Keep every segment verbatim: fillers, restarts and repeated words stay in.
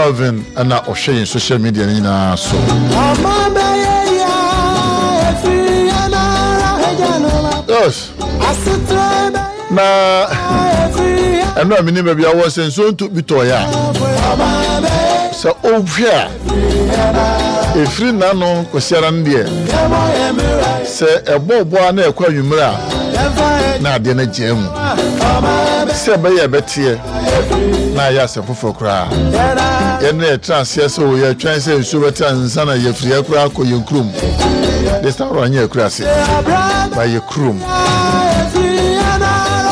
Calvin ɛna ɔhwɛ yɛn social media no nyinaa so. Yes, na ɛno a menim baabi awɔ sɛ nsuo nto bi tɔɔyɛ a, sɛ wohwɛ a, ɛfiri n'ano Kwasiara no deɛ, sɛ ɛbɔɔbɔ a na ɛkɔ anwummerɛ a, na adeɛ no agyaa mu sɛ ɛbɛyɛ ɛbɛteɛ na ayɛ asɛm foforɔ koraa. Yɛn ne yɛtena aseɛ sɛ o yɛtwɛn sɛ nsuo bɛte ansa na yɛfiri koraa akɔ yɛn kurom. This time round nyɛ akura ase ba yɛ kurom.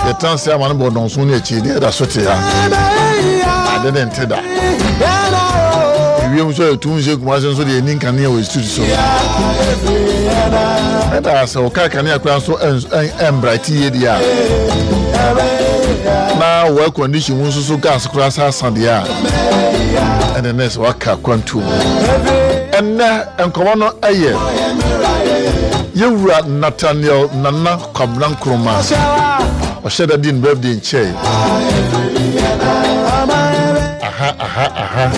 Yɛtena ase ama no bɔ dɔnso ne akyi deɛ ɛda so te ha, ade ne nte da. Ewiem nso yɛtum sɛ Kumase nso deɛ ɛni nkanea wɔ street so. Ɛda sɛ wɔka kanea koraa nso ɛmbrate yie deɛ a, na wɔ air condition mu nso so gas koraa sa asa deɛ a, ɛne ne sɛ waka kwantuo mu. Ɛnnɛ nkɔmmɔ no ɛyɛ yɛwura Nathaniel Nana Kwabena Nkrumah. Ɔhyɛ da di ne birthday nkyɛe. Aha aha aha,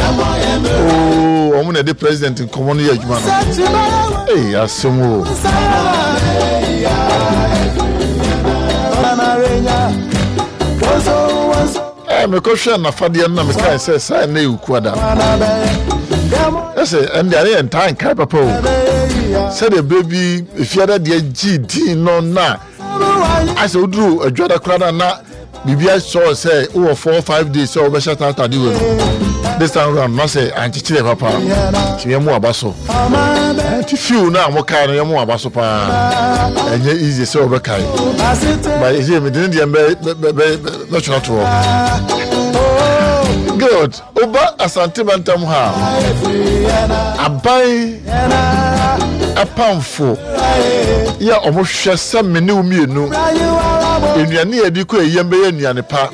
ooo, wɔn na ɛde president nkɔmmɔ no yɛ adwuma no. Ee, asɛm o. Ɛɛ, mekɔhwɛ nafadeɛ no na mekae sɛ saa ɛnɛ yɛ Okuada. Ɛsɛ ɛnde ane yɛ ntaa nkae papa o, sɛdeɛ berɛ bi Efiada deɛ gyee din no, na asɛ woduru Adwada koraa na na biribi asɔ sɛ wowɔ four five days sɛ wobɛhyɛ atade wei no. This time round na sɛ ankyekyerɛ papa nti yɛmo aba so. Nti few no a mokae no, yɛmo aba so paa. Ɛnyɛ easy sɛ wobɛkae, but ɛsɛ mede ne deɛ bɛtwerɛ to hɔ. Good. Woba Asante mantam ha a, aban apamfo yɛ ɔmo hwɛ sɛ me ne wo mmienu, nnuane a yɛde kɔ yɛn yam bɛyɛ nnuane pa,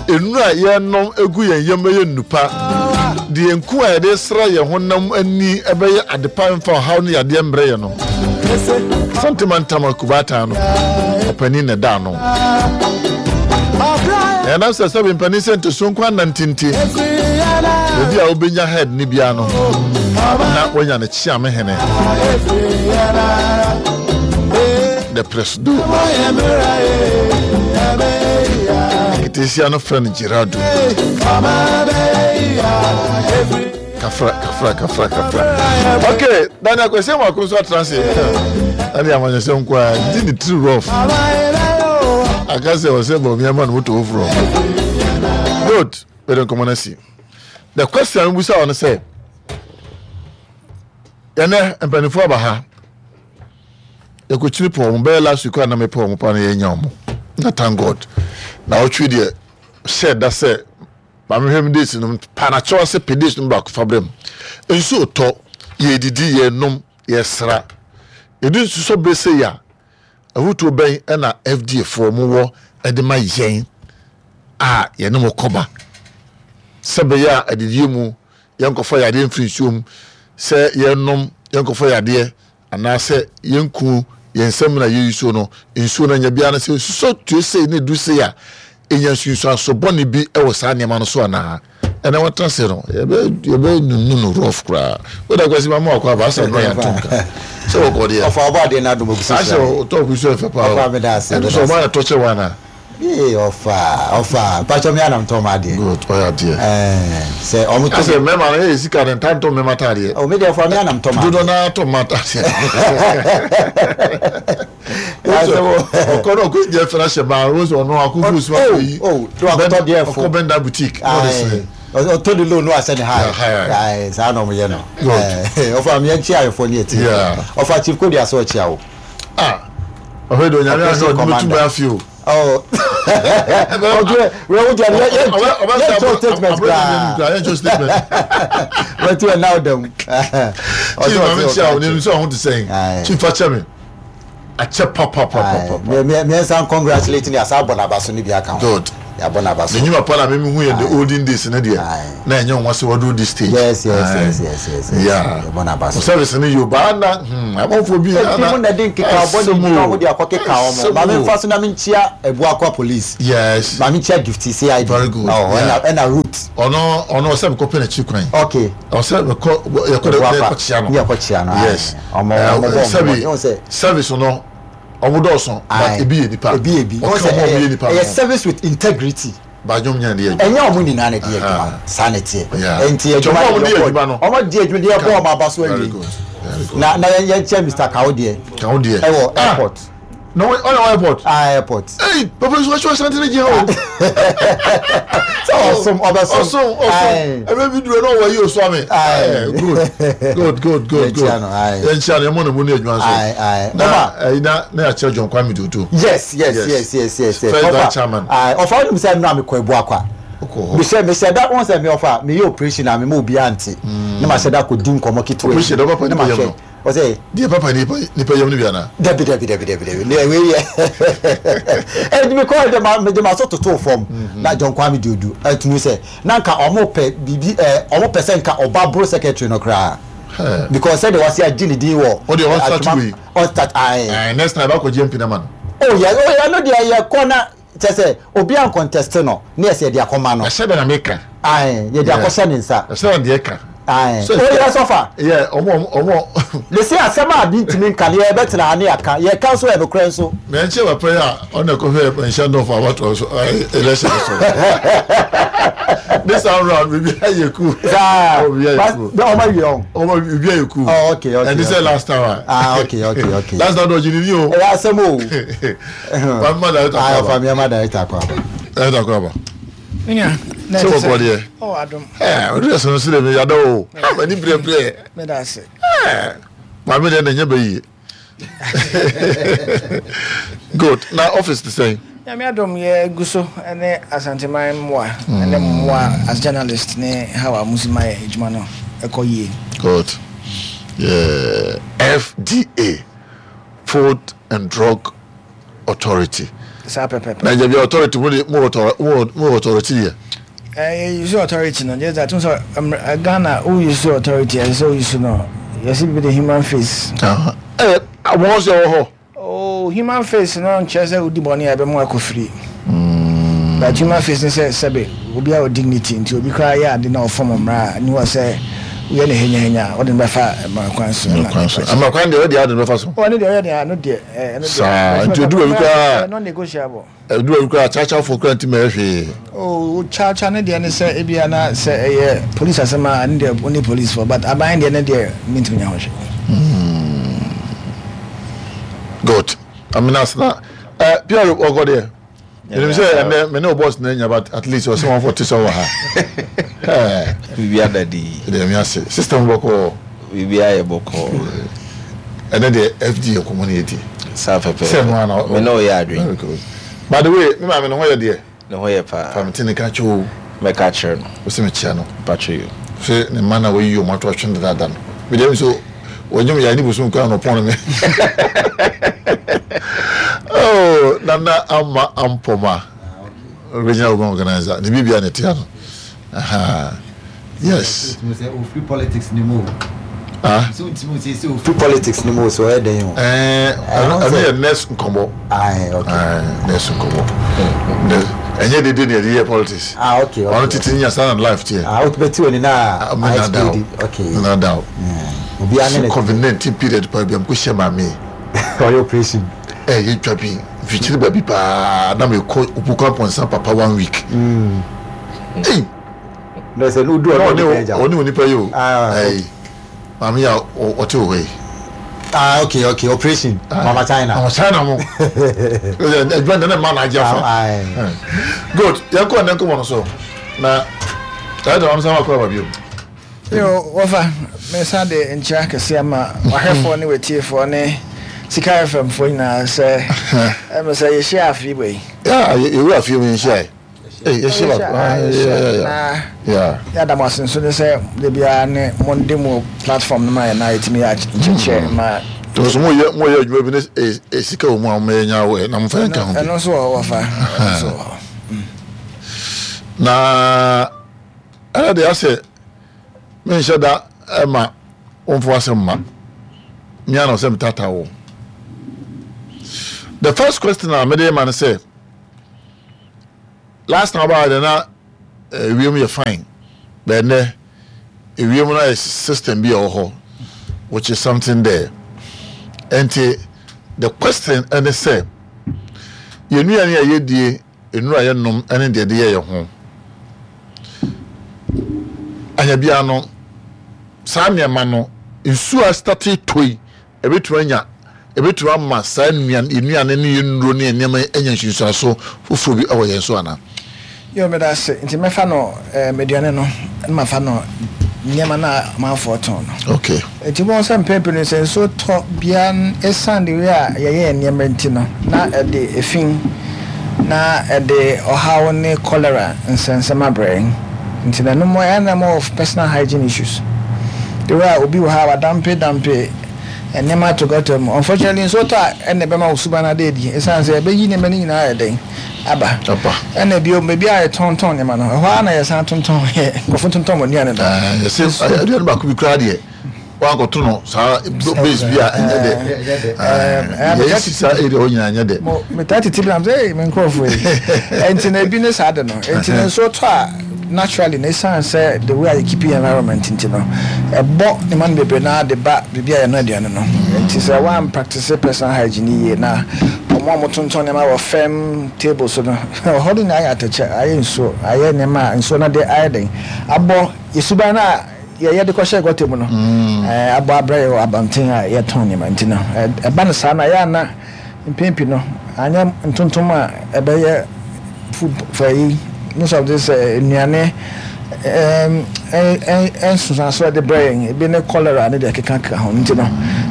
nnuru a yɛnom egu yɛn yam bɛyɛ nnu pa, deɛ nku a yɛde sra yɛn honam ani ɛbɛyɛ ade pa, mfa ɔhaw ne yadeɛ mbrɛ yɛn no. Asante mantam akubaatan no ɔpanin na ɛda ano. Ɛnam sɛ sɛbi mpanin sɛ ntoso nko anantinti, baabi a wobɛnya head ne bia no na wanya ne kyeame hene, the presido nketesia no frɛ no Gerardo. Kafra kafra kafra kafra. Okay, Daniel Kwesi Mako nso atena ase ɛne amanyɔsɛm nko a di ne tiri rough aka sɛ ɔsɛ bɔ ama no moto foforɔ. Good, bɛde nkɔmmɔ no asi. The question a mebusa wɔ no sɛ, yɛnɛ mpanimfoɔ aba ha, yɛkɔkyini pɔ ɔmo bɛyɛ last week a na mepɛ ɔmo pa no, yɛnya ɔmo na thank God na ɔtwe deɛ hyɛ da sɛ maame hwɛ mi dates no pa na kyɛw ase pɛ dates no baako fa brɛ mu. Nsuo tɔ, yɛdidi, yɛnom, yɛsra, yɛde nsu sɔ bere sɛ yɛ a, ahutuo bɛn ɛna F D A foɔ mo wɔ ɛde ma yɛn a yɛne mo kɔba sɛ bɛyɛ a adidie mu yɛnkɔfa yadeɛ mfiri nsuo mu, sɛ yɛnom yɛnkɔfa yadeɛ, anaasɛ yɛnku yɛn nsam na yɛyi suo no, nsuo no anya biara no sɛ nsusɔ tue sei ne du sei a, ɛnya nsunsuanso bɔne bi wɔ saa nneɛma no so anaa? Ɛnɛ wɔtena se no, yɛbɛ yɛbɛ nunu no rough koraa. Woda Kwasi ma mo akɔ aba asa no, yɛn to nka sɛ wɔkɔ deɛ. Ɔfa ɔbɔ adeɛ no adom ogu so. Ahyɛ ɔtɔ ku so ɛfɛ paa. Ɔfa, meda ase. Ɛno sɛ ɔma yɛ tɔ kyɛ wɔn ana? Ee, ɔfa ɔfa mpatwɔ mi anam tɔn ma adeɛ. Good, ɔyɛ adeɛ. Ɛɛ, sɛ ɔmo tɔ. Asɛ mmarima no yɛ sika ne nta ntɔ mmarima ataadeɛ. Ɔ, mi deɛ ɔfa mi anam tɔn ma adeɛ. Dodo naa tɔ mma ataadeɛ. Ɔkɔ no ɔkɔ deɛ fɛn ahyɛ maa o sɛ ɔno akoko suma Oh, yi. oh, do akɔtɔ deɛ fo. Ɔkɔ bɛnda boutique na ɔde sɛ. Ɔtɔ de loan no asɛ ne ha. Yeah, hi. Saa na ɔmo yɛ no. Good. Ɛɛ, ɔfa mi yɛn kyi ayɛfo ne yɛ ti. Yeah. Ɔfa Chief Kodi asɛ ɔkyia o. Ah, ɔhwɛ de Onyame ahwɛ ɔde bɛtu bɛ afi o. Ɔ, ɔdwe wɛ wo deɛ yɛ yɛ yɛ kyɛw statement koraa. Yɛ kyɛw statement. Wɛti wɛ naw dɛm. Chief, maame kyia o, ne nso ɔho te sɛn? Chief, fa kyɛ me akyɛ papapapapa. Mmiɛnsa, congratulate ni asa abɔ n'aba so ne bi aka ho. Good. Yɛabɔ n'aba so. Ne nnwuma pa na mimi hu yɛ the olden days ne deɛ na ɛnyɛ wɔn sɛ wɔduru this stage. Yes yes yes yes yes. Yeah. Yɛbɔ n'aba so. Service ne yoba na hmm abɔnfo bi. Ebi mu na de nkeka ɔbɔ ne nkeka ɔmo de akɔ keka ɔmo. Maame nfa so na mi nkyia Ebuakwa police. Yes. Maame nkyia Gifty C I D. Very good. Ɔhɔ ɛna ɛna root. Ɔno ɔno ɔsɛ mi kɔ pɛ n'akyi kwan. Okay. Ɔsɛ mi kɔ yɛkɔ de yɛkɔ kyia no. Yɛkɔ kyia no. Yes. Ɔmo ɔmo bɔ ɔmo. Service no. Ɔmo dɔɔso but ebi yɛ nipa. Ebi yɛ bi. Ɔka ɔmo ɔmo yɛ nipa. Ɛyɛ service with integrity. Badwom nyɛ de yɛ. Ɛnyɛ ɔmo nyinaa na de yɛ adwuma. Saa na ɛteɛ. Nti adwuma ɔmo de yɛ adwuma no. Ɔmo di adwuma deɛ ɛbɔ ɔmo aba so awie. Na na yɛn yɛn kyɛ Mister Kawo deɛ. Kawo deɛ. Ɛwɔ airport. Na ɔyɛ wɔ airport. Ah, airport. Hey, papa nso ahyɛ ɔsan tene gyina o. Sɛ ɔsom ɔbɛsom. Ɔsom ɔsom. Ɛbɛ bi duro na ɔwɔ yi osu ame. Good good good good good. Yɛn kyia no yɛn mɔ ne mu ne adwuma nso. Na ɛyi na na yɛakyerɛ John Kwame Dodo. Yes yes yes yes yes. First vice chairman. Ɔfa ɔnum sɛ nnura mi kɔ Ebuakwa. Mehyɛ mehyɛ da wɔn sɛ mi ɔfa mi yɛ operation na mi ma obi ante. Ne ma hyɛ da kɔ di nkɔmɔ ketewa. Operation dɛ ɔba pa nipa yam no. Ɔsɛ. Deɛ papa nipa nipa yam no bi ana. Dabi dabi dabi dabi dabi ne ewe yɛ. Ɛdi mi kɔ ɛdi ma mi ma so toto fam. Na John Kwame Dodo ɛtumi sɛ na nka ɔmo pɛ bibi ɛ ɔmo pɛ sɛ nka ɔba bro secretary no koraa. Because sɛ de wasi agye ne din wɔ. O de ɔn start wei. Ɔn start ayi. Next time akɔ G M P na ma no. Oh yɛ oh yɛ no deɛ yɛ kɔ na kyɛ sɛ obi an contest no ne yɛ sɛ yɛde akɔma no. Ɛsɛ bɛ na mi ka. Ayi yɛde akɔhyɛ ne nsa. Ɛsɛ bɛ deɛ ka. Ayi o yɛ sɔfa. Yɛ ɔmo ɔmo. Lesi asɛm a bi ntumi nka ne yɛ bɛ tena ha ne yɛ ka yɛ ka nso yɛ nokorɛ nso. Mɛ nkyɛn wɔ pɛ yɛ a ɔna kɔfɛ nhyɛn dɔfo abatɔ so ɛɛ election so. This time round bibi ayɛ cool. Saa ɔmo awie ɔn. Ɔmo bibi ayɛ cool. Oh okay okay. And this is last time. Ah okay okay okay. Last time dɔji ni ni o. Ɛyɛ asɛm o. Fami director kɔ aba. Fami ama director kɔ aba. Director kɔ aba. Minya. Sɛ wɔ kɔ deɛ. Oh adum. Ɛɛ o de sɔn sire mi yada o. Ama ni brɛ brɛ. Mɛ da ase. Ɛɛ maame deɛ na nye bɛ yie. Good na office ti sɛn. Nyame adom yɛ gu so ne Asanteman mmoa ne mmoa as journalist ne how a musi ma yɛ adwuma no ɛkɔ yie. Good. Yeah. F D A, Food and Drug Authority. Saa pɛpɛpɛ. Na gye bi authority mo de mo mo authority yɛ. Eh, use authority no. Just that so Ghana who use authority and so use no. You see the human face. Ah. Eh, wọ́n sọ wɔ hɔ. Oh, human face no nkyerɛ sɛ wodi bɔne a ɛbɛma akɔ free. But human face no sɛ sɛbe obi a dignity nti obi koraa yɛ ade na ɔfɔm mmara ni wɔ sɛ woyɛ ne henya henya ɔde no bɛfa mmara kwan so. Mmara so. Mmara kwan deɛ ɔde ade no bɛfa so. Ɔne deɛ ɔyɛ deɛ ano deɛ ɛno deɛ. Saa nti odu baabi koraa. Non negotiable. Odu baabi koraa kyakyafo koraa nti mɛyɛ hwee. Oh, kyakya ne deɛ ne sɛ ebia na sɛ ɛyɛ police asɛm a ne deɛ only police for but aban deɛ ne deɛ mintimi nya ho hwee. Good. I mean, that's not. Uh, Pierre, what got there? You know, say, and then, me no boss, but at least you're someone for two hours. We are daddy. System boko. We are boko. And then the F D A community. Same one. Me know you are doing. By the way, me ma me no hoye there. No hoye pa. Family catch you. Me catch her. We see me channel. Patch you. Say the man away you want to watch that done. Me dem so. When you are ni bosom kwa no pon me. Oh, Nana Ama Ampoma, regional woman organizer. Ni bibia ne tia no. Aha. Yes. Free politics ni mo. Ah. So ntimi say say free politics ni mo so e den o. Eh, I mean next nkomo. Ah, okay. Ah, next nkomo. Enye de de ne politics. Ah, okay. Ono titi nya stand life tie. Ah, o beti oni na. Okay. Na down. Obi ane COVID nineteen period pa bi am ko hye mame. For operation. Eh, you twa bi. Fichiri baby pa na me ko opuka ponsa papa one week. Mm. Hey. No say no do no oni oni pa yo. Eh. Mame ya o te o Ah, okay, okay. Operation. Mama China. Mama China mo. Adwan na man aja fa. Good. Ya ko na ko mo so. Na ta da am sa ma ko ba bi o. Yo, wafa, me sa de nkyia kese ama wahwefo ne wetiefo ne Sika F M fo nyina sɛ em sɛ ye share afi boy. Yeah, you afi me share. Eh, ye share. Yeah. Yeah. Ya da masin so ne sɛ de bia ne Monday mo platform no ma na etimi ya nkyekye ma. To so mo ye mo ye adwuma bi ne sika o mu a mo nya wo na mo fa nka ho. Eno so wafa. So. Na ɛna deɛ asɛ menhyɛ da ɛma wɔmfo asɛm ma mea na ɔsɛ metata wo. The first question a mede ma no sɛ, last time ɔbaa deɛ na ewiem yɛ fine, but ɛnɛ ewiem no ayɛ system bi a ɛwɔ hɔ, which is something there. Nti the question ɛne sɛ, yɛn nnuane a yɛdie, nnuro a yɛnom ɛne deɛ de yɛ yɛn ho anya bia no, saa nneɛma no, nsuo a start tɔ yi, ebɛtumi anya, ebɛtumi ama saa nnuane, nnuane ne yɛn nnuro ne nneɛma yi anya nsunsuanso foforɔ bi ɛwɔ yɛn so ana? Yo, meda ase. Nti mɛfa no ɛɛ aduane no ɛna mafa no nneɛma no a amanfoɔ tɔn no. Okay nti wɔn sɛ mpɛn pii no, sɛ nsuo tɔ bia, esan de wei a yɛyɛ yɛn nneɛma nti no, na ɛde efin na ɛde ɔhaw ne cholera nsɛnsɛm abrɛ yɛn. Nti na no mo ɛna more of personal hygiene issues, the way a obi wɔ ha wadampe dampe nneɛma ato gutter mu. Unfortunately, nsuo tɔ a, ɛna ɛbɛma wo suban ade adi, esan sɛ ɛbɛyi nneɛma no nyinaa yɛ den aba. Aba. Ɛna bio, baabi a yɛtɔntɔn nneɛma no, ɛhɔ ara na yɛsan tontɔn yɛ nkurɔfo tontɔn wɔn nnuane no. Ɛɛ yɛsɛ aduane baako bi koraa deɛ, wankɔto no saa base bi a, ɛnyɛ dɛ. Ɛɛ yɛyɛ si saa area hɔ nyinaa, ɛnyɛ dɛ. Mo metaa tete bi nam sɛ ee me nkurɔfoɔ yi, ɛnti na ebi ne saa de no. Ɛnti na nsuo tɔ a, naturally na esan sɛ the way a yɛ keep environment nti no, ɛbɔ nneɛma no bebree naa de ba biribi a yɛno aduane no. Nti sɛ wɔn practice personal hygiene yie, na wɔn a wɔtontɔn nneɛma wɔ fam table so no, ɛhɔ no nyinaa ayɛ atɛkyɛ, ayɛ nsuo, ayɛ nneɛma a nsuo no de ayɛ den abɔ yɛsuban no a yɛyɛ de kɔhyɛ gutter mu no, ɛɛ abɔ abrɛ yɛ wɔ abɔnten a yɛtɔn nneɛma. Nti no ɛba no saa na yɛ ana mpɛn pii no, anyɛ ntontom a ɛbɛyɛ food for yi, most of this nnuane ɛɛm ɛnsunsuanso ɛde brɛ yɛn, ebi ne cholera ne deɛ keka keka ho. Nti no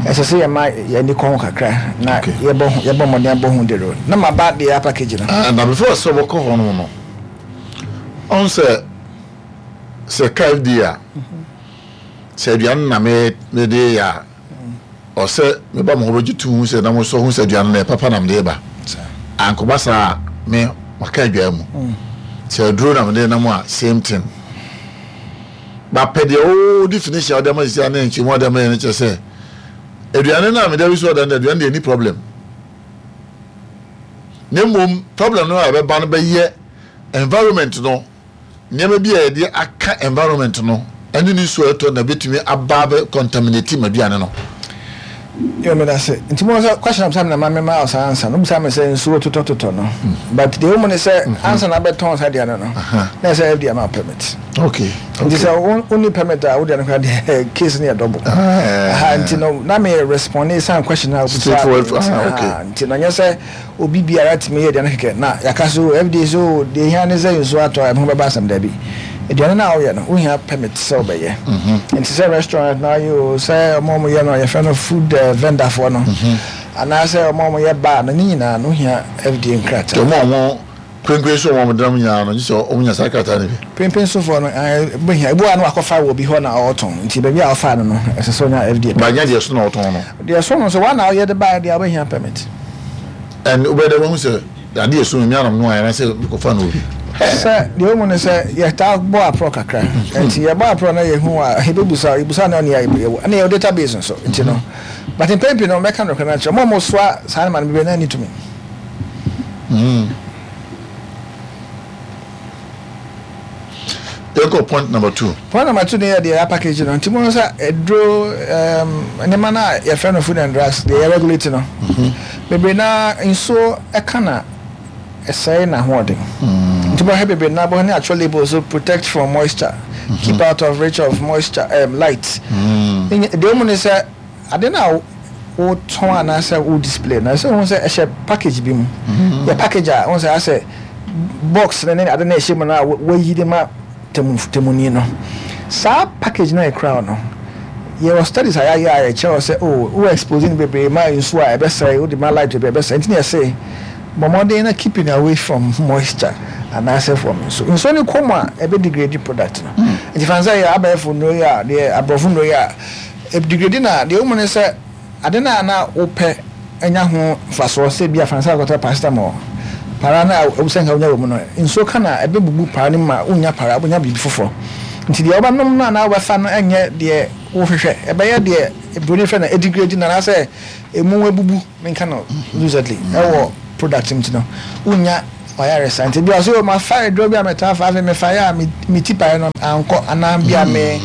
ɛsɛ sɛ yɛma yɛn kɔ ho kakra na yɛbɔ ho, yɛbɔ mmɔden abɔ ho dero na ma ba deɛ package no. Na before sɛ wɔkɔ hɔ no no ɔn sɛ sɛ ka F D A a, sɛ aduane na me mede yɛ a, ɔsɛ meba mo hɔ bɛgye tu hu sɛ na mo sɔ hu sɛ aduane no yɛ papa na mede ba. Ankɔba saa a, me maka adwaa mu sɛ aduro na mede nam a, same thing. Bapɛ deɛ wo definition a wode ama sisi a ne nkyɛmu a wode ama yɛ no kyerɛ sɛ aduane no a mede awi so ɔda no, aduane deɛ ni problem, na mmom problem no a ɛbɛba no bɛyɛ environment no, nneɛma bi a yɛde aka environment no ɛne ne nsuo a ɛtɔ na bɛtumi aba abɛ contaminate m'aduane no. Yɛ meda se nti mo sɛ question am na ma mema ɔsaa ansa no, bisa me sɛ nsuo totɔtotɔ no, but deɛ wɔmu ne sɛ ansa na abɛtɔn saa aduane no, na ɛsɛ F D A ma permit. Okay nti sɛ wo wonni permit a, wode no kora deɛ, case no yɛ double. Aha, nti no na me respond san question a wobisa. Straightforward, ah, okay. Nti no nyɛ sɛ obi biara tumi yɛ aduane kɛkɛ na yɛaka so F D A so deɛ hia ne sɛ nsuo atɔ a ɛho bɛba asɛm. Dabi, aduane no a woyɛ no, wohia permit sɛ wobɛyɛ. Nti sɛ restaurant na ayɛ o, sɛ ɔmo a ɔmo yɛ no yɛfrɛ no food eh, vendor foɔ no, anaasɛ ɔmo a ɔmo yɛ bar no, ne nyinaa no wohia F D A nkrataa. Ɔmo a ɔmo prenpren so, ɔmo denam nyinaa no, gye sɛ ɔmo nya saa krataa no bi. Pempem sofoɔ no eh, bɛhia. Ebi wɔ a na wakɔfa wɔ bi hɔ na ɔretɔn, nti baabi a ɔfa no no, ɛsɛ sɛ ɔnya F D A. Banya deɛ so na ɔtɔn no. Deɛ so no sɛ wɔn na ɔyɛ de baeɛ deɛ, wobɛhia permit. Ɛn wobɛyɛ dɛ wahu sɛ adeɛ so mi anam no a, yɛn sɛ kɔfa no obi? Sɛ deɛ ɔmu no sɛ yɛtaa bɔ aporɔ kakra, nti yɛbɔ aporɔ na yɛhu a, yɛbɛbusa, yɛbusa na ɔne yɛ ɛne yɛwɔ database nso. Nti no, but mpɛn pii no, mɛka nokorɛ no akyerɛ mo a mosoa saa no ma no bebree na ani tumi. Mm. Yɛkɔ point number two. Point number two ne yɛ deɛ yɛ package no. Nti mo sɛ aduro um, nneɛma no a yɛfrɛ no food and drugs deɛ yɛ regulate no, bebree na nsuo ɛka na ɛsɛe n'ahoɔden. Nti bɔhwɛ bebree na bɔhwɛ ne atwerɛ label so, protect from moisture, keep out of reach of moisture, um, light. Deɛ ɔmu ne sɛ ade no a wotɔn anaasɛ wo display no, ɛsɛ wohu sɛ ɛhyɛ package bi mu. Yɛ package a wohu sɛ asɛ box ne ne ade no ɛhyɛ mu no a wayi de ma temu temuni no, saa package no a ɛkura wo no, yɛwɔ studies a yɛayɛ a yɛkyerɛ wo sɛ oh, wo expose no bebree ma nsuo a, ɛbɛsɛe, wode ma light bebree, ɛbɛsɛe. Nti ne yɛse bɔ mmɔden na keeping away from moisture anaasɛ from nsuo. Nsuo no kɔ mu a, ɛbɛ degrade product no. Nti fan sɛ yɛ abɛɛfo nnuro yi a, deɛ aborɔfo nnuro yi a degrade na deɛ womu ne sɛ ade no a na wopɛ anya ho mfasoɔ sɛ bi a fan sɛ akɔtɔ paracetamol. Para no a ɛwɔ sɛ nka wonya wɔ mu no, nsuo ka na ɛbɛbubu para no mu ma wonnya para, wobɛnya biribi foforɔ. Nti deɛ wobɛnom no anaa wobɛfa no nyɛ deɛ wohwehwɛ, ɛbɛyɛ deɛ buroni frɛ no ɛdegrade no anaasɛ ɛmu abubu, menka no loosely, ɛwɔ product mu nti no wonnya wayaresa. Nti bi a ɔsɛ, mafa aduro bi a metaa fa, afei mefa yɛ a me ti pae no ankɔ, anaa bi a me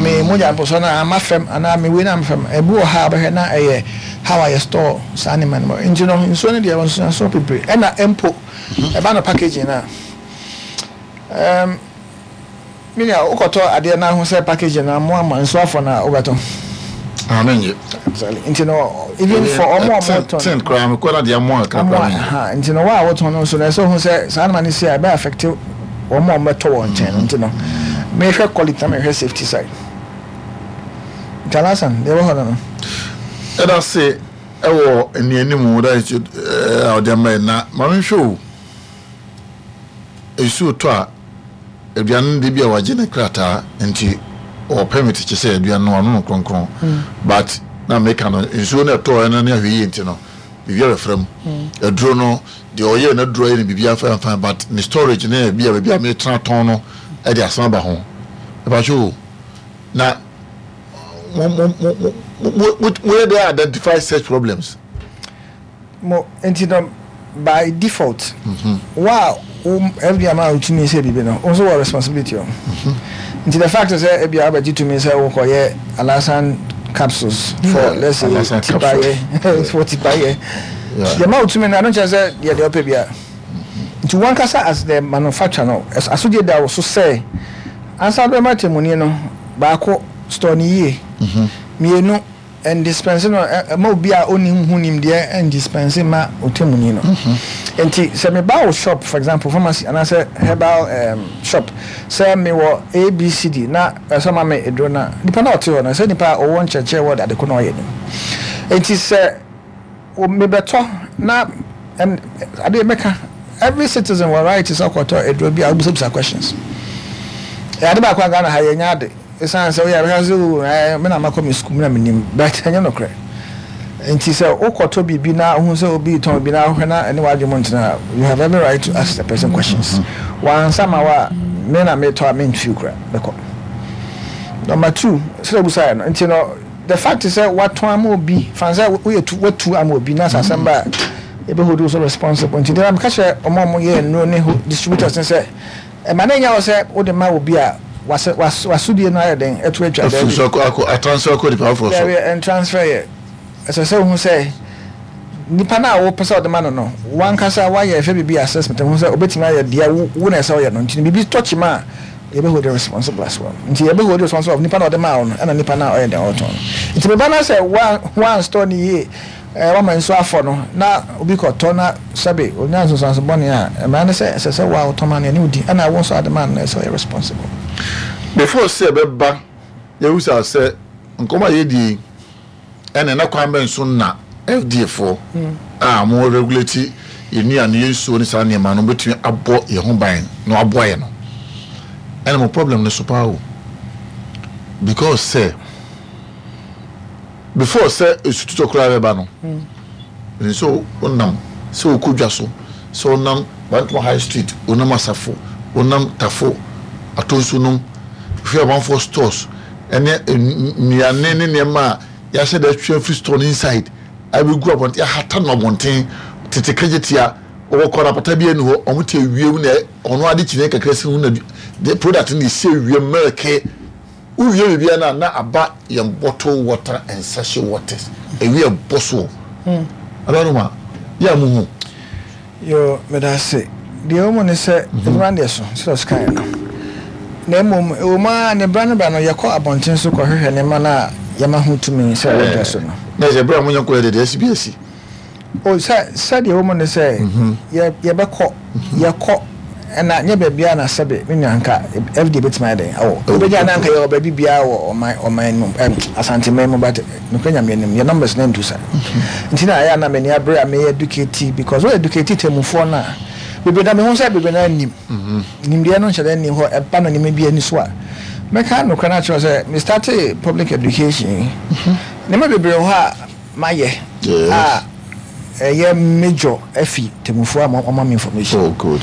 me mogya mpɔsɔ no ama fam, anaa me wei no ama fam. Ebi wɔ ha a wobɛhwɛ na ɛyɛ how a yɛ store saa nneɛma no mu. Nti no nsuo no deɛ nsuo bebree ɛna mpo ɛba no packaging no a, um, me nua, wokɔtɔ adeɛ na ahu sɛ packaging no amoa ma nsuo afɔ no a, wobɛtɔ? Ah, menye. Exactly. Nti no even for ɔmo a ɔmo tɔn ten koraa mekɔ na deɛ amoa kakra amoa koraa menye. Ha, nti no wo a wotɔn no nso no, ɛsɛ ohun sɛ saa nneɛma no si a, ɛbɛ affect wɔn a wɔbɛtɔ wɔn nkyɛn no. Nti no mehwɛ quality na mehwɛ safety side. Nti alasan deɛ ɛwɔ hɔ no no Ɛda se ɛwɔ nnuanim da a ɔde ama yɛ na ma menhwɛ o, nsuo tɔ a, aduane no de bi a wagye ne krataa nti ɔwɔ permit kyɛ sɛ aduane no ano no kronkron, but na meka no nsuo no ɛtɔɔ ɛno ne ahwɛ yie nti no biribi abɛfra mu. Aduro no deɛ ɔyɛ n'aduro ayɛ no biribi afa fine, but ne storage ne bi a baabi a metena tɔn no ɛde asɛm aba ho. Ɛbàtɛ o, na mo mo mo mo mo mo mo yɛ de identify such problems? Mo nti no by default, wo a wo F D A ma wotumi sɛ biribi no, wo nso wɔ responsibility o. Nti the fact sɛ ebi a wobɛgye tumi sɛ wokɔyɛ alasan capsules for Yeah, let's say Alasan tipayɛ for tipayɛ, Yeah. deɛ ma wotumi no, ano kyerɛ sɛ deɛ deɛ ɔpɛ bia. Nti wankasa as the manufacturer no, ɛs- asodie da wo so sɛ ansa bɛma temmuni no, baako, store ne yie; mmienu, ndispense no ɛ- ɛma obi a ɔni ho nimdeɛ ndispense ma ɔtemmuni no. Nti sɛ meba wo shop, for example pharmacy anaasɛ herbal um, shop, sɛ mewɔ A B C D na ɛsɛ ma me eduro no a, nipa na ɔte hɔ no, sɛ nipa a ɔwɔ nkyerɛkyerɛ wɔ ade ko na ɔyɛ nim. Nti sɛ o- mebɛtɔ na ɛm, adeɛ mɛka, every citizen wɔ right sɛ ɔkɔtɔ eduro bi a, wobisabisa questions. Ɛyɛ ade baako a Ghana ha yɛnya ade, ɛsiane sɛ woyɛ bɛka sɛ o ɛɛ me na makɔ me sukuu, me na menim, but ɛnyɛ nokorɛ. Nti sɛ wokɔtɔ biribi na wohu sɛ obi tɔn bi na wohwɛ na ɛne w'adwene mu ntena a, you have every right to ask the person questions. Wansa ma wo a, me na metɔ a, memfiw kora mɛkɔ. Number two, sɛ obusaeɛ no, nti no the fact is sɛ watɔn ama obi fan sɛ woyɛ tu, watu ama obi na sɛ asɛm ba a, yɛbɛhold wo so responsible. Nti deɛ meka kyerɛ ɔmo a ɔmo yɛ nnuro ne ho distributors ne sɛ ɛma ne nya wɔ sɛ wode ma obi a wasɛ was wasodie no ayɛ den ɛto atwa. Afiri so akɔ akɔ atransfer akɔ nipa foforɔ so. Daabi, ɛntransfer. Yɛ ɛsɛ sɛ wohu sɛ nipa no a wopɛ sɛ ɔde ma no no wankasa wayɛ ɛhwɛ biribi assessment hu sɛ obɛtumi ayɛ deɛ wo wo na ɛsɛ ɔyɛ no. Nti biribi tɔkye ma a, yɛbɛhold responsible as well. Nti yɛbɛhold responsible of nipa na ɔde maa wo no, ɛna nipa no a ɔyɛ den ɔtɔn no. Nti meba no sɛ wan wan store ne yie, ɛɛ wama nsuo afɔ no na obi kɔtɔ na sɛbe onya nsonsanso bɔne a, mmara ne sɛ ɛsɛ sɛ wo a wotɔn ma no ɛne wodi, ɛna wo nso ade ma no no ɛsɛ ɔyɛ responsible. Before sɛ ɛbɛba yɛwusa sɛ nkɔmɔ a yɛdie yi, ɛna ɛna kwan bɛn so na F D A foɔ a mo regulate yɛn nnuane, yɛn nsuo ne saa nneɛma no bɛtumi abɔ yɛn ho ban na waboa yɛn no, ɛna mo problem no so paa o, because sɛ before sɛ esu tutɔ koraa bɛba no nso, wonam sɛ wokɔ dwa so, sɛ wonam Bantama High Street, wonam Asafo, wonam Tafo Atonso nom, hwɛ amanfoɔ stores ɛne nnuane ne nneɛma a yɛahyɛ da atwa afiri store no inside abɛgu abɔnten, yɛahata no abɔnten tete kagye tia wɔwɔ kɔ apata bi ani hɔ, ɔmo te ewiem na ɔno ade kyinɛ kakra si ho na de product no esi ewiem milk wowie biribiara na na aba yɛn bottle water and sachet waters ewie ɛbɔ soɔ adanoma yɛ a mo hu. Yo, meda ase. Deɛ ɛwɔ mu ne sɛ adwuma no deɛ so sɛ ɔsikaeɛ no, na mmom ɛwɔ mu a ne bra no bra no yɛkɔ abɔnten so kɔhwehwɛ nneɛma no a yɛma ho tumi sɛ wɔdwa so no. Na sɛ bere a mo nyɛ nkɔyɛ de deɛ ɛsi bi asi. O sɛ sɛdeɛ ɛwɔ mu ne sɛ yɛ yɛbɛkɔ yɛkɔ ɛna nyɛ baabi a na sɛbe me nua nka F D A bɛtumi ayɛ den awɔ wobɛgya na nka yɛwɔ baabi biara wɔ ɔman ɔman mu, ɛm Asanteman mu, but nokora Nyame anim yɛ numbers na ntu sa. Nti na ɛyɛ a na m'ani abere a meyɛ educate, because wo educate tɛmufoɔ no a, bebree na mehu sɛ bebree na nim nimdeɛ no nhyɛ dɛ nni hɔ. Ɛba no nneɛma bi ani so a, mɛka nokora no akyerɛ sɛ me start public education yi, nneɛma bebree wɔ hɔ a mayɛ Yes. a Ɛyɛ major afi temmufoɔ a wɔma me information. Oh, good.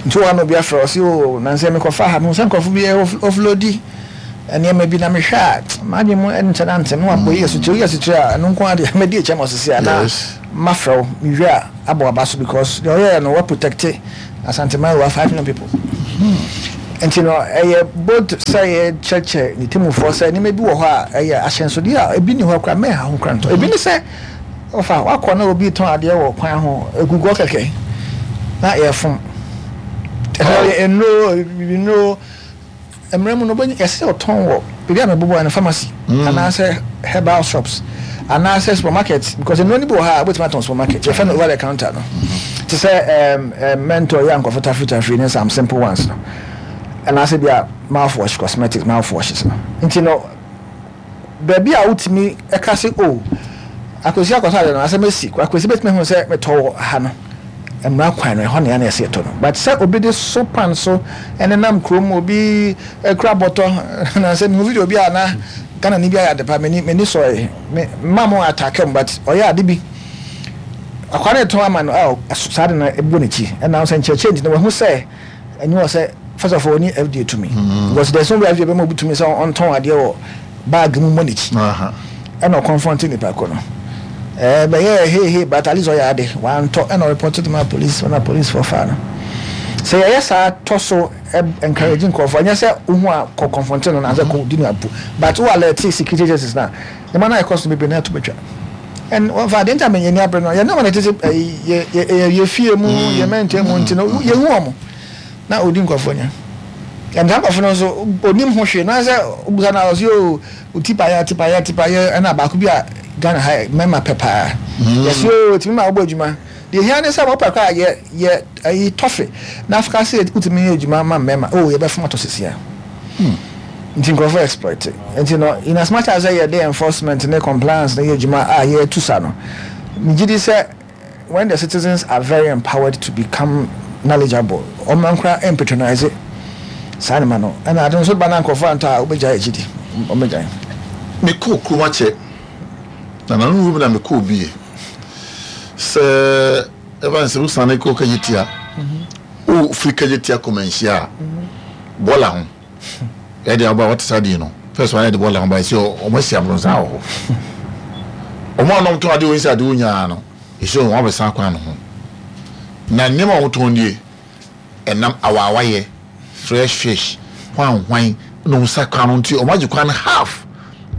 Nti wɔn obi afrɛ ɔsi o nansɛ mekɔfa ha mehu sɛ nkurɔfo bi offloadi nneɛma bi na mehwɛ a m'adwene mu nkyɛ na ntem na wabɔ yi asutire yi asutire a ɛno nko adeɛ mɛdi akyɛ ma ɔsisi a na mafrɛ wo mewie a abɔ aba so because deɛ ɔyɛɛ no wa protect Asanteman wa five million people. Nti no ɛyɛ both sɛ yɛkyerɛkyerɛ ne temmufoɔ sɛ nneɛma bi wɔ hɔ a ɛyɛ ahyɛnsodeɛ a ebi ni hɔ koraa mɛnha ho koraa ntɔ. Ebi ne sɛ ɔfa wakɔ na obi tɔn adeɛ wɔ kwan ho egugu kɛkɛ na yɛfom ɛhɔ nnuro nnuro mmerɛ mu no bɛnya yɛsɛ sɛ ɔtɔn wɔ baabi a mɛbobɔ no pharmacy anaasɛ herbal shops anaasɛ supermarket, because nnuro no bi wɔ ha a wobɛtumi atɔn supermarket, yɛfɛ no over the counter no, te sɛ ɛɛm ɛɛm mentor yɛ ankɔfo tafiri tafiri ne some simple ones no, anaasɛ bi a mouthwash, cosmetics mouthwashes no. Nti no baabi a wotumi ɛka sɛ o Akwasi akɔtɔ ade no asɛm esi Akwasi bɛtumi ahu sɛ metɔ wɔ ha no, mmara kwan no ɛhɔ na yɛn na yɛsɛ yɛtɔ no. But sɛ obi de so pan so ɛnenam kurom, obi ekura bɔtɔ na sɛ mehu video bi a na Ghana ni bi ayɛ ade pa, m'ani m'ani sɔɛ me mma mo attack mu, but ɔyɛ ade bi akwa ne tɔn ama no a saa de no ebu n'akyi ɛna sɛ nkyerɛkyerɛ nti na wahu sɛ ɛni wɔ sɛ first of all oni F D A tumi, because there is no way F D A bɛma obi tumi sɛ ɔntɔn adeɛ wɔ bag mu mmɔ n'akyi. Ɛna ɔconfront nipa ko no ɛɛ bɛyɛ hey hey, but at least ɔyɛ ade wantɔ ɛna ɔreport to ma police ɛna police fɔ fa no sɛ yɛyɛ saa tɔ so encourage nkurɔfoɔ. Ɛnyɛ sɛ wohu a kɔ confront no na sɛ kɔ di no abu, but wo alert security agencies na nneɛma no ayɛ kɔ so bebree na ɛto bɛtwa. And wɔfa adeɛ nti a mɛnyɛ ni abere no yɛ nneɛma na ɛtete ɛyi yɛ yɛ yɛ fie mu yɛ mɛntɛn mu nti no yɛhu wɔn na odi nkurɔfoɔ nya ɛnta nkurɔfoɔ no nso onim ho hwee na sɛ obusa na ɔsi o tipa yɛ tipa yɛ tipa yɛ. Ɛna baako bi a Ghana ha mɛma pɛ paa yɛsi o tìmi ma ɔbɔ adwuma deɛ ehia ne sɛ wɔpɛ kɔ a yɛ yɛ ɛyi tɔfe na afika sɛ wotumi yɛ adwuma ma mmarima o yɛbɛfom atɔ sisi a nti nkurɔfoɔ exploit. Nti no in as much as yɛ de enforcement ne compliance ne yɛ adwuma a yɛtu sa no, megye di sɛ when the citizens are very empowered to become knowledgeable, ɔmo ankora mpatronise saa nneɛma no. Ɛna ade nso ba na nkurɔfoɔ antɔ a wobɛgyae akyi di ɔmɛgyae. Mekɔɔ kurom akyɛ na nanu bi na mekɔɔ bie sɛ ɛba sɛ wosane kɔ Kagyetia, wofiri Kagyetia kɔmanhyia a bɔɔla ho ɛde aba wɔte saa deɛ no first one yɛde bɔɔla ho ba ɛsɛ ɔmo asi aborɔnsan wɔ hɔ. Ɔmo a ɔnom tɔn adeɛ wɔ nsi adeɛ wɔ nyinaa no ɛsɛ ɔmo abɛsan kwan no ho na nneɛma a wɔtɔn nie ɛnam awaawayɛ, fresh fish, hwan hwan na ɔmo sa kwan no. Nti ɔmo agye kwan no half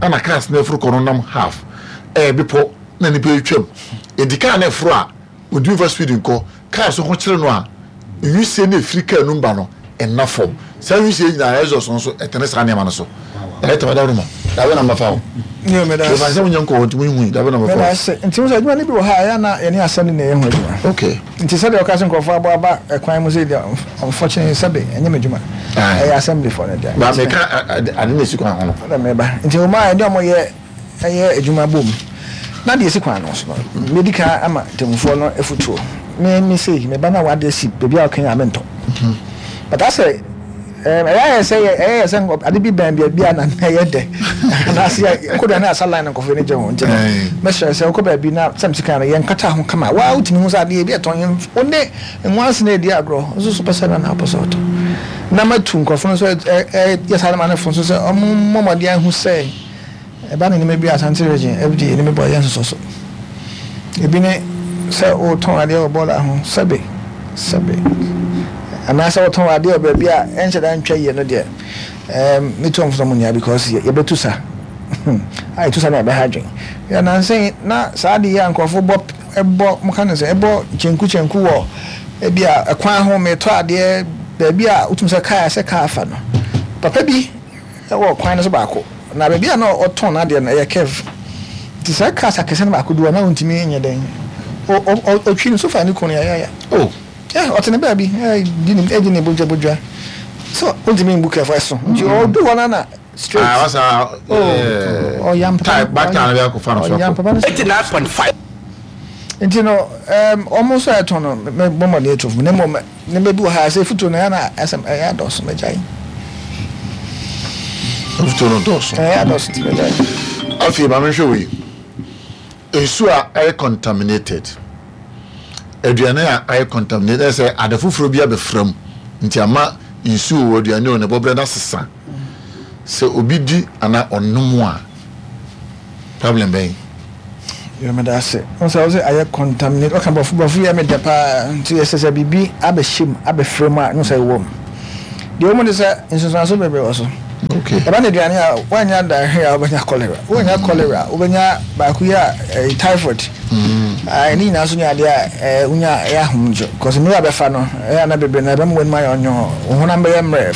ɛna cars na ɛforo kɔ no nam half ɛyɛ bepɔ na nipa etwam. Edi kaa na ɛforo a ontumi fa speed nkɔ kaa so ho kyerɛ no a nwisie na efiri kaa no ba no ɛnna fam. Saa nwisie nyinaa exhaust no nso ɛtɛne saa nneɛma no so ɛyɛ tɛmɛ dawuro ma dabe na mbafa o yɛfa sɛ mo nyɛ nkɔ nti mo nhu dabe na mbafa o. Nti mo sɛ adwuma no bi wɔ ha a ɛyɛ na yɛne asɛm ne na ɛyɛ ho adwuma. Okay nti sɛdeɛ ɔka sɛ nkurɔfoɔ abɔ aba ɛkwan mu sɛ deɛ, unfortunately sɛbe ɛnyɛ me adwuma, ɛyɛ assembly foɔ no deɛ. Ba meka ade na esi kwan ho no. Ɛna meba nti wɔn a ɛne ɔmo yɛ ɛyɛ adwuma bom na deɛ esi kwan no so no medi kan ama ntemmufoɔ no afutuo. Me me sei meba na wade asi baabi a ɔka yi a mentɔ, but asɛ ɛɛ ɛyɛ ayɛ sɛ yɛ ɛyɛ yɛ sɛ ade bi bɛn baabi a na ɛyɛ dɛ anaasɛ kodo ne asa line nkɔfo ne gye ho. Nti no mɛsrɛ sɛ wokɔ baabi na sɛm sika no yɛnkata ho kama waa wotumi ho sɛ adeɛ bi ɛtɔn yɛn wo ne nwansi na edi agorɔ nso so pɛ sɛ na na apɔ sɛ ɔtɔ na matu nkurɔfo no nso ɛ ɛ yɛ saa ma ne fo nso sɛ ɔmo mmɔ mmɔden ahu sɛ ɛba ne nneɛma bi a Asante Region F D A ne bɔ yɛ nsosɔ so. Ebi ne sɛ wotɔn adeɛ wɔ bɔɔla ho sɛbe sɛbe anaasɛ wotɔn adeɛ wɔ baabi a ɛnhyɛ da ntwa yie no deɛ, ɛɛm metu ɔmo fo sɛ ɔmo nya because yɛbɛtu sa a yɛtu sa na yɛbɛha adwen yɛ nansɛn na saa adeɛ yi a nkurɔfo bɔ ɛbɔ mo ka ne sɛ ɛbɔ kyenku kyenku wɔ ebi a ɛkwan ho. Metɔ adeɛ baabi a wotum sɛ kaa sɛ kaa fa no papa bi ɛwɔ kwan no so baako na baabi a na ɔtɔn n'adeɛ no ɛyɛ curve, nti saa cars akɛse no baako du hɔ na wontumi nyɛ dɛn ɔtwi no so fa ne kunu yayaya. Oh. Ɛ ɔte ne baabi ɛdi ne ɛdi ne bodwa bodwa so wontumi mbu curve ɛso nti ɔdu hɔ na na straight. Ah, wasa. Oh, ɔyam papa. Back time bi akɔfa no so. Ɔyam papa no so. Eighty nine point five. Nti no ɛɛm ɔmo nso a ɛtɔn no mɛ bɔ mmɔden etu fo ne mmom ne bɛ bi wɔ ha sɛ futuo no ɛyɛ na ɛsɛm ɛyɛ adɔso mɛgyae. Futuo no dɔɔso. Ɛyɛ adɔso ti mɛgyae. Afei maame, hwɛ wei, nsuo a ɛyɛ contaminated. Aduane a ayɛ contaminated sɛ ade foforɔ bi abɛfra mu, nti ama nsuo wɔ aduane o ne bɔberɛ no asesa. Sɛ obi di anaa ɔnom a, problem bɛn? Yɛ meda ase. Wo sɛ wo sɛ ayɛ contaminate, ɔka borɔfo borɔfo yɛ meda paa. Nti ɛsɛ sɛ biribi abɛhyɛ mu, abɛfrɛ mu a, no sɛ ɛwɔ mu deɛ, wɔn de sɛ nsonsanso bebree wɔ so. Okay ɛba no aduane a, woanya diarrhea a, wobɛnya cholera. Woanya cholera, wobɛnya baako yi a ɛyɛ typhoid. Ah, ɛne nyinaa nso ne adeɛ a ɛɛ wonya ɛyɛ ahomdwo, cause nnuro a bɛfa no ɛyɛ ana bebree na ɛbɛma w'anim ayɛ ɔnyo, wo honam bɛyɛ mmerɛ.